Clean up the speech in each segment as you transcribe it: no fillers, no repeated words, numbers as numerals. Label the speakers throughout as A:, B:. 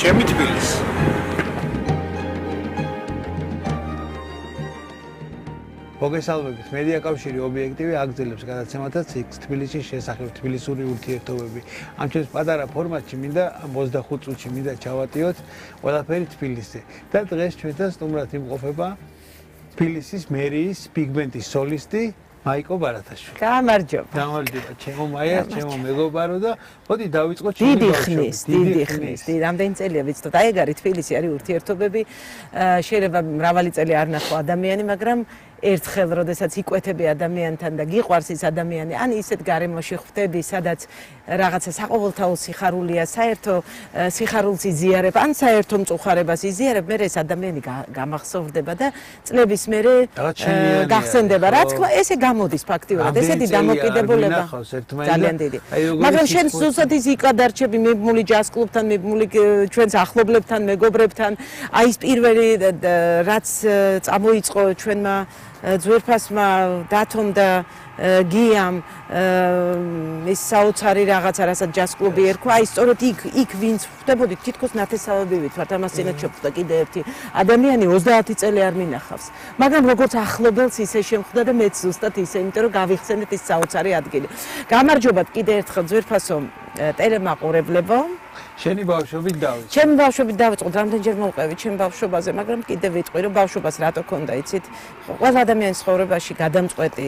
A: ჩემი თბილისი. მოგესალმებით, მედია კავშირი ობიექტივი აგრძელებს გადაცემათაც იქ თბილისის შესახებ თბილისური ურთიერთობები. ამ ჩემს პატარა ფორმატში მინდა 25 წუთში მინდა ჩავატიოთ ყველაფერი თბილისზე. და დღეს ჩვენთან სტუმრად იმყოფება თბილისის მერიის პიგმენტის სოლისტი მაიკო ბარათაშვილი.
B: გამარჯობა.
A: გამარჯობა, ჩემო მაია, ჩემო მეგობარო და მოდი დავიწყოთ
B: დიდი ხნის. რამდენი წელია ვიცით, აი ეგ არის თბილისი, არის ურთიერთობები. შეიძლება მრავალი წელი არ ნახო ადამიანი, მაგრამ ერთხელ როდესაც იკვეთები ადამიანთან და გიყვარს ის ადამიანი, ან ისეთ გარემოში ხვდები, სადაც რაღაცა საყოველთაო სიხარულია, საერთო სიხარულს იზიარებ, ან საერთო მწუხარებას იზიარებ, მე ეს ადამიანი გამახსოვრდება და წლების მერე გახსენდება. რა თქმა, ესე გამოდის ფაქტიურად, ესეთი დამოკიდებულება ძალიან დიდი. მაგრამ შენ ზუსტად ის იკადარჩები მიბმული ჯაზ კლუბთან, მიბმული ჩვენს ახლობლებთან, მეგობრებთან, აი ეს პირველი რაც წამოიწყო ჩვენმა ძვირფასმა დათომ და გიამ ის საოცარი რაღაცა, რასაც ჯაზ კლუბი ერქვა, აი სწორედ იქ ვინც ხვდებოდით, თითქოს ნათესავებივით ვართ, ამას წინათ შეხვდა კიდე ერთი ადამიანი 30 წელი არ მინახავს. მაგრამ როგორც ახლობელს ისე შემხვდა და მეც ზუსტად ისე, იმიტომ რომ გავიხსენეთ ის საოცარი ადგილი. გამარჯობათ კიდე ერთხელ ძვირფასო ტელემაყურებლებო.
A: შენი ბავშვობით დავიწყო.
B: ჩემი ბავშვობით დავიწყოთ, რამდენჯერ მოვყევი ჩემ ბავშვობაზე, მაგრამ კიდე ვიტყვი, რომ ბავშვობას რატო ქონდა, იცით? ყველა ადამიანის ცხოვრებაში გადამწყვეტი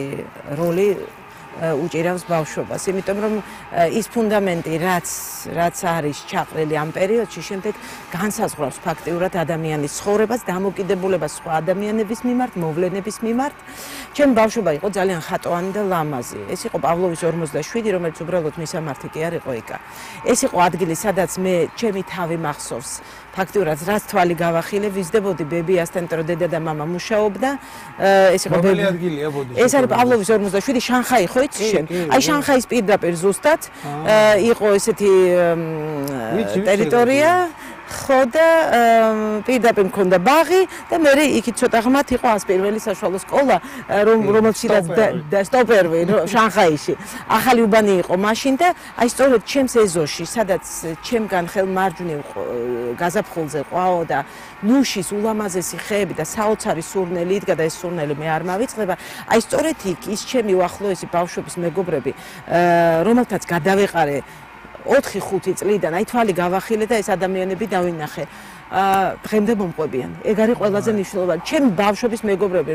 B: როლი უჭირავს ბავშვობას, იმიტომ რომ ის ფუნდამენტი, რაც არის ჩაყრილი ამ პერიოდში, შემდეგ განსაზღვრავს ფაქტიურად ადამიანის ცხოვრებას, დამოკიდებულებას სხვა ადამიანების მიმართ, მოვლენების მიმართ. ჩემი ბავშვობა იყო ძალიან ხატოვანი და ლამაზი. ეს იყო პავლოვის 47, რომელიც უბრალოდ მისამართი კი არ იყო ეკა. ეს იყო ადგილი, სადაც მე ჩემი თავი მახსოვს. ფაქტიურად რაც თვალი გავახილე, ვიზდებოდი ბებიასთან, რომ დედა და მამა მუშაობდა. ეს იყო
A: რომელი ადგილია ბოდი?
B: ეს არის პავლოვის 47, შანხაი, ხო იცი შენ? აი შანხაის პირდაპირ ზუსტად იყო ესეთი ტერიტორია. ხო და პირდაპირ მქონდა ბაღი და მე იქით ცოტა ღმათ იყო 101 საშუალო სკოლა, რომელშიც და სტოპერვი შანხაიში. ახალი უბანი იყო მაშინ და აი სწორედ ჩემს ეზოში, სადაც ჩემგან ხელმარჯვნივ გაზაფხულზე ყვაო და ნუშის ულამაზესი ხეები და საოცარი სურნელი იდგა და ეს სურნელი მე არ მავიწყდება. აი სწორედ იქ ის ჩემი უახლოესი ბავშვობის მეგობრები, რომელთაც გადავეყარე 4-5 წლიდან, აი თვალი გავახილე და ეს ადამიანები დავინახე. დღემდე მომყვებიან. ეგ არის ყველაზე მნიშვნელოვანი. ჩემი ბავშვობის მეგობრები,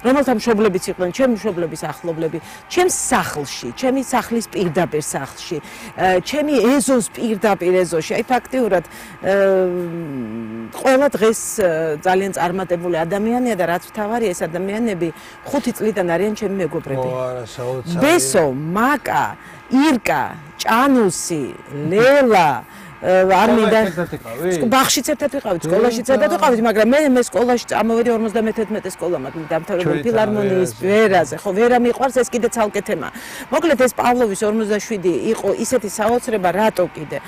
B: რომელთა მშობლებიც იყვნენ, ჩემი მშობლების ახლობლები, ჩემს სახლში, ჩემი სახლის პირდაპირ სახლში, ჩემი ეზოს პირდაპირ ეზოში. აი ფაქტიურად ყველა დღეს ძალიან წარმატებული ადამიანია და რაც მთავარია, ეს ადამიანები 5 წლიდან არიან ჩემი მეგობრები. ბესო, მაკა, ირკა, ჭანუსი, ლელა არ მინდა ბაღშიც ერთად ვიყავით, სკოლაშიც ერთად ვიყავით, მაგრამ მე სკოლაში წამოვედი 51 სკოლა მაქვს დამთავრებული ფილარმონიის ვერაზე, ხო ვერა მიყვარს, ეს კიდე ცალკე თემა. მოკლედ ეს პავლოვის 47 იყო ისეთი საოცრება, რატო კიდე?